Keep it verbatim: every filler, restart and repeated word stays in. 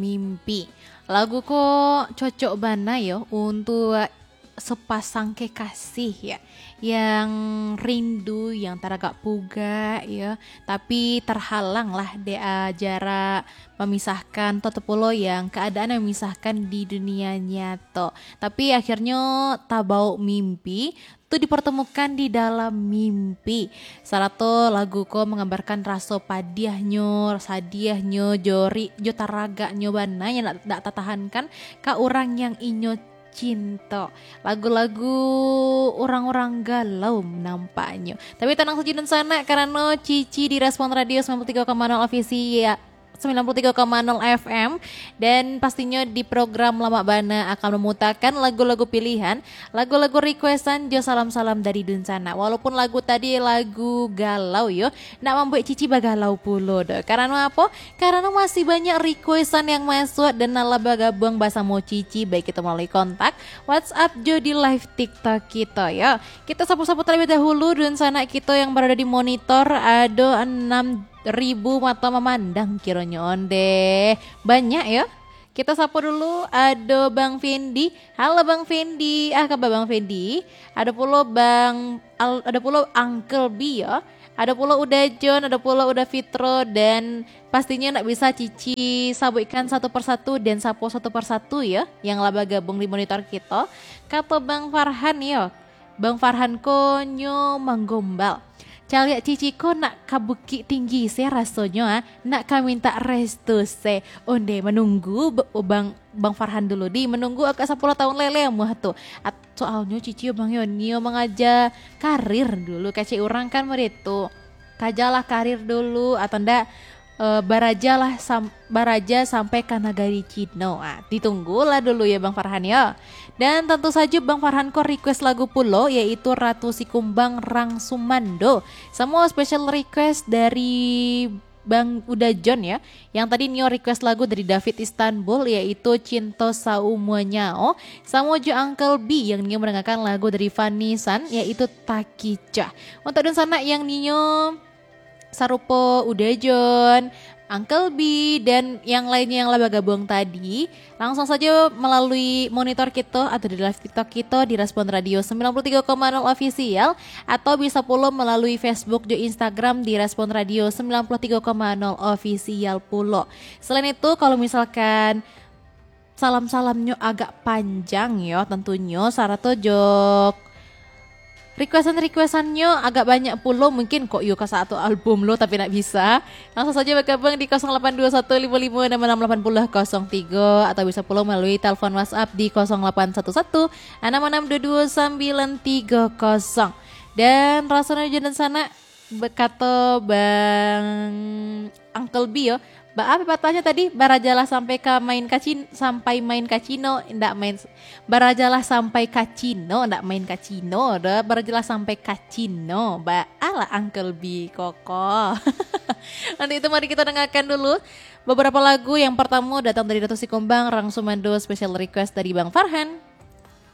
Mimpi. Lagu ko cocok bana yo untuk sepasang kekasih ya, yang rindu, yang taragak pugak ya, tapi terhalang lah dek, ah, jarak memisahkan, atau pulo yang keadaan yang memisahkan di dunia nyato. Tapi akhirnyo tabauk mimpi, tu dipertemukan di dalam mimpi. Sarato lagu ko menggambarkan raso padiahnyo, sadiahnyo, jo ri-, jo taragaknyo bana yang dak, dak tatahankan ka urang yang inyo cinto. Lagu-lagu urang-urang galau nampaknyo. Tapi tanang sajo dunsanak, karano Cici di Respon Radio sembilan puluh tiga koma nol Official, sembilan puluh tiga koma nol F M. Dan pastinyo di program Lamak Bana akan mamutakan lagu-lagu pilihan, lagu-lagu requestan jo salam-salam dari dunsanak. Walaupun lagu tadi lagu galau yo, ndak mambuek Cici bagalau pulo doh. Karano apo? Karano masih banyak requestan yang masuk dan nan lah bagabuang basamo Cici, baik itu melalui kontak, WhatsApp, jo di live TikTok kito yo. Kita sapu-sapu terlebih dahulu dunsanak kito yang berada di monitor, ado enam ribu mato mamandang kironyo ondeh. Banyak yo. Kita sapu dulu, ado Bang Fendi. Halo Bang Fendi, ah, kaba Bang Fendi? Ado pulo Bang Al-, ado pulo Uncle B yo. Ado pulo Uda John, ado pulo Uda Fitro, dan pastinyo ndak bisa Cici sabuikkan satu persatu dan sapo satu persatu yo, yang lah bagabuang di monitor kito. Kato Bang Farhan yo, Bang Farhan ko nyo manggombal. Caliak Cici ko nak ka Bukik Tinggi se rasonyo, ah, nak ka mintak restu se. Onde manunggu b-, Bang, Bang Farhan dulu di, manunggu agak sapuluah tahun lele muah tu. At-, soalnyo Cici Bang yo nio mangaja karir dulu, kecek urang kan model tu. Kajalah karir dulu, atau ndak, eh, barajalah sam-, baraja sampai ka nagari Cino. Ah, ditunggulah dulu yo Bang Farhan yo. Dan tantu sajo Bang Farhan ko request lagu pulo, yaitu Ratu Sikumbang Rang Sumando. Samo special request dari Bang Uda John yo. Yang tadi nio request lagu dari David Istanbul, yaitu Cinto Saumuanya. Samo jo Uncle B yang nio mandangakan lagu dari Vanessa, yaitu Takicah. Untuk dunsanak yang nio sarupo Uda John, Uncle B, dan yang lainnyo yang lah bagabuang tadi, langsung sajo melalui monitor kito atau di live TikTok kito di Respon Radio sembilan puluh tiga koma nol Official, atau bisa pulo melalui Facebook jo Instagram di Respon Radio sembilan puluh tiga koma nol Official pulo. Selain itu, kalau misalkan salam-salamnyo agak panjang yo, tentunyo sarato jo requestan-requestannyo agak banyak pulo, mungkin kok yo ka satu album lo tapi ndak bisa. Langsung sajo bagabuang di kosong lapan dua satu limo limo enam enam lapan nol kosong tigo, atau bisa pulo melalui telepon WhatsApp di kosong lapan satu satu enam enam dua dua sambilan tigo kosong. Dan rasonyo jo dunsanak, bakato Bang Uncle B yo, ba-, apo patahnyo tadi? Barajalah sampai ka main ka Cin-, sampai main ka Cino, ndak main s-, barajalah sampai ka Cino, ndak main ka Cino doh, barajalah sampai ka Cino. Ba-, alah Uncle B koko. Untuk itu mari kita dengarkan dulu beberapa lagu. Yang pertama datang dari Ratu Sikumbang Rang Sumando, special request dari Bang Farhan.